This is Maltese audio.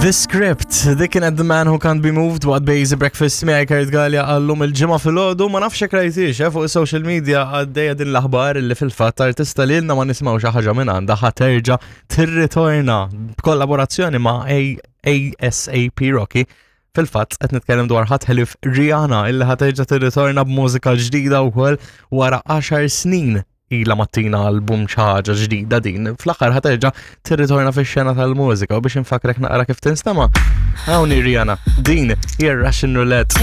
The Script, dik kienet The Man Who Can't Be Moved waqt Basic Breakfast miegħi Kurt Gallia għallum il-ġimgħa filgħodu ma nafx hekk rajtix eh, fuq social media għaddejja din l-aħbar li fil-fatt artista li ilna ma nismgħu xi ħaġa minn għandha ħa terġa' tirritorna b'kollaborazzjoni ma' ASAP Rocky. Fil-fatt qed nitkellem dwar ħadd ħelif Rihanna illi ħa terġa' tirritorna b'mużika ġdida wkoll wara 10 snin ilha ma tina album xi ħaġa ġdida din. Fl-aħħar ħa terġa' tirritorna fix-xena tal-mużika u biex infakrek naqra kif tinstema'. Hawn hi Rihanna, din hija Russian Roulette.